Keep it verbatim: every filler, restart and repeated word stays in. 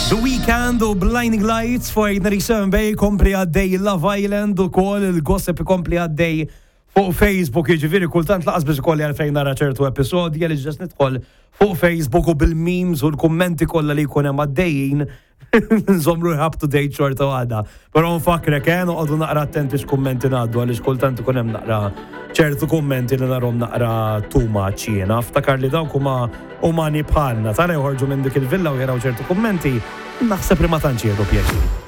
The Weeknd u Blinding Lights fuq eight ninety-seven Bay. Kompli għaddej Love Island u kollox, il-gossip kompli għaddej fuq Facebook, jiġifieri kultant lanqas biss ikolli għalfejn nara ċertu episodji għaliex just nidħol fuq Facebook u bil-memes u l-kummenti kollha li jkun hemm għaddejjin nżommu up to date xorta waħda. Però nfakrek, eh, noqogħdu naqra attenti x'kummenti ngħaddu għaliex kultant ikun hemm naqra ċertu kummenti li narahom naqra too much jiena. Ftakar li dawk huma umani bħalna, tara joħorġu minn dik il-villa u jaraw ċertu kummenti, naħseb li ma tantx jieħdu pjaċir.